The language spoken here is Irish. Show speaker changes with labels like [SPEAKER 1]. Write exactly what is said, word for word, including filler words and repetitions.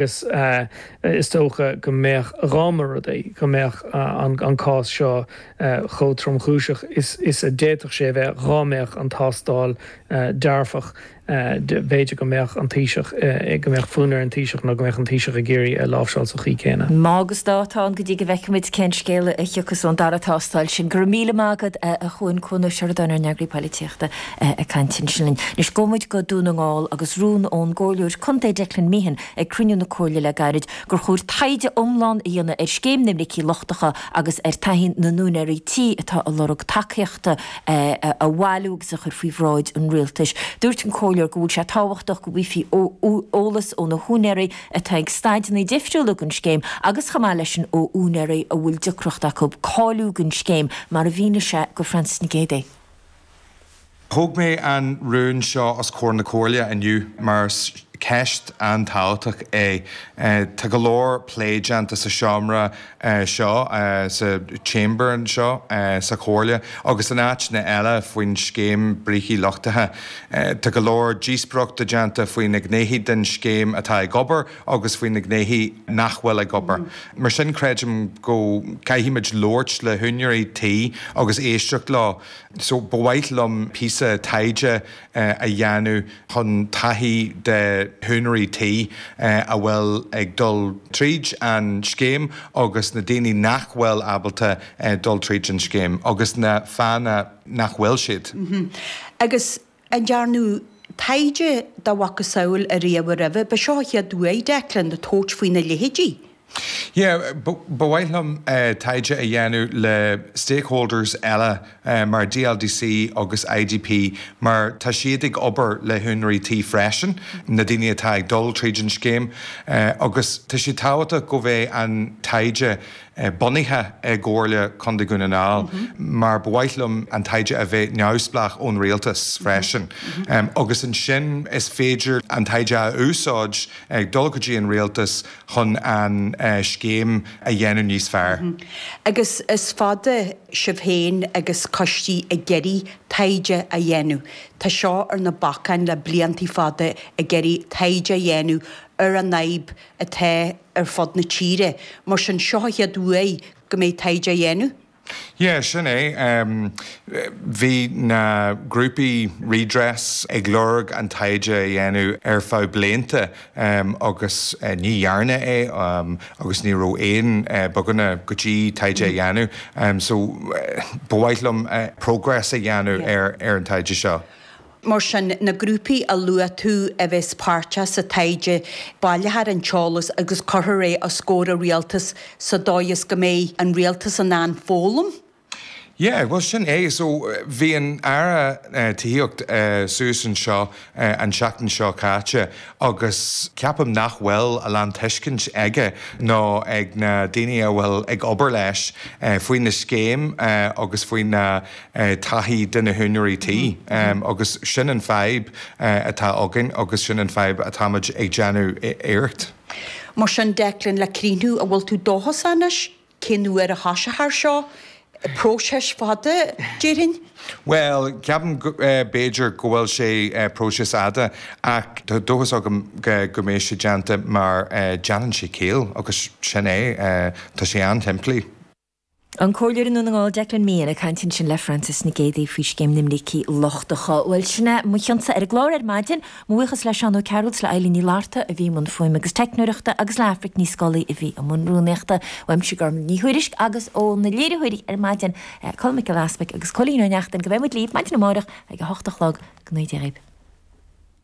[SPEAKER 1] Agus is dócha go mbeadh dhá mba rud é go mbeadh an cás seo chomh tromchúiseach is is a d'fhéadfadh sé bheith dhá mbeadh an tástáil dearfach b'fhéidir go mbeadh an Taoiseach go mbeadh fonn ar an Taoiseach nó go mbeadh an Taoiseach ag iarraidh é a láimhseáil sa chaoi céanna.
[SPEAKER 2] Má agus dá atá ann go dtí go bhfeicfimid cén scéal a thiocfas ón dara tástáil sin. Go raibh míle maith agat a Chuain Cuan Ó Seireadáin ár n-eagraí polaitíochta ag caint ansin linn. Anois gabhfaidh muid go Dún na nGall agus rún ón gcomhairleoir contae Declan Meehan ag cruinniú na Comhairle le gairid gur chóir taighde iomlán a dhéanamh ar scéim na mbricí lochtacha agus ar taithí na n-úinéirí tí atá ag lorg tacaíochta a bhailiú agus a chur faoi bhráid an rialtais. Dúirt an comhairleoir go bhfuil sé tábhachtach go bhfaighfí eolas ó na húinéirí atá ag staideanna difriúla den scéim agus chomh maith leis sin ó úinéirí a bhfuil deacracht acu cáiliú don scéim, mar a mhínigh sé do Frances Nic Géadaigh.
[SPEAKER 3] Thóg mé an rún seo os comhair na Comhairle inniu mar is ceist an-tábhachtach é. Tá go leor plé déanta sa seomra seo, sa chamber anseo sa Chomhairle agus in áiteanna eile faoin scéim brící luchtaithe. Tá go leor díospóireachta déanta faoi na gnéithe den scéim atá ag obair agus faoi na gnéithe nach bhfuil ag obair. Mar sin creidim go gcaithfimid labhairt le húinéirí tí agus éisteacht leo. So ba mhaith liom píosa taighde a dhéanamh chun taithí de húinéirí tí a bhfuil ag dul tríd an scéim agus na daoine nach bhfuil ábalta dul tríd an scéim agus na fáthanna nach bhfuil siad.
[SPEAKER 4] Agus an ndearnadh taighde dá mhacasamhail ariamh roimhe? Ba seo an chéad uair, Declan, tabhairt faoina leithéidí.
[SPEAKER 3] Yeah, ba mhaith liom taighde a dhéanamh le stakeholders eile mar DLDC agus IDP mar tá siad ag obair le húinéirí tí freisin, na daoine atá ag dul tríd an scéim agus tá sé tábhachtach go mbeidh an taighde bunaithe i gComhairle Contae Dhún na nGall mar ba mhaith liom an taighde a bheith neamhspleách ón rialtas freisin. Agus ansin is féidir an taighde a úsáid ag dul go dtí an rialtas chun an scéim a dhéanamh níos fearr.
[SPEAKER 4] Agus is fada sibh féin agus coistí ag iarraidh taighde a dhéanamh. Tá seo ar na bacáin le blianta fada ag iarraidh taighde a dhéanamh ar an fhadhb atá ar fud na tíre. Mar sin, seo an chéad uair go mbeidh taighde á dhéanamh.
[SPEAKER 3] Yeah, sin é. Bhí na grúpaí Redress ag lorg an taighde a dhéanamh ar feadh blianta agus ní dhearnadh é agus ní raibh aon bogadh go dtí taighde a dhéanamh. So ba mhaith liom progress a dhéanamh ar ar an taighde seo.
[SPEAKER 4] Mar sin, na grúpaí a luaigh tú a bheas páirteach sa taighde, baileofar an t-eolas agus cuirfear é os comhair an rialtais sa dóigh is go mbeidh an rialtas in ann foghlaim.
[SPEAKER 3] Yeah, bhuel sin é. So bhí an Aire Tithíocht suas anseo an tseachtain seo caite agus ceapaim nach bhfuil a lán tuiscint aige nó ag na daoine a bhfuil ag obair leis faoi na scéim agus faoi na taithí de na húinéirí tí agus sin an fadhb atá againn agus sin an fadhb atáimid ag déanamh iarracht.
[SPEAKER 4] Mar sin, Declan, le críochnú, an bhfuil tú dóchasach anois? Cén uair a thoiseofar seo? Próiseas fada, déarfainn?
[SPEAKER 3] Bhuel, ceapaim b'fhéidir go bhfuil sé próiseas fhada ach tá dóchas agam go mbeidh sé déanta mar déanann sé ciall agus sin é, tá sé an-simplí.
[SPEAKER 2] An Comhairleoir i nDún na nGall Declan Meehan ag caint ansin le Frances Nic Géadaigh faoi scéim na mbrící lochtacha. Bhuel, sin é mo chionsa ar an gclár ar maidin. Mo bhuíochas le Seán Ó Cearúil is le Eilín Ní Fhlatharta a bhí i mbun fuaime agus teicneoireachta agus le Aifric Ní Scolaí a bhí i mbun rúnaíochta. Uaimse Gormlaith Ní Thuairisg agus ó na léiritheoirí ar maidin, Colm Mac Giolla Easpaig agus Cóilín Ó Neachtain, go mbeidh muid libh maidin amárach ag a hocht a chlog. Go ngnóthaí Dia dhaoibh.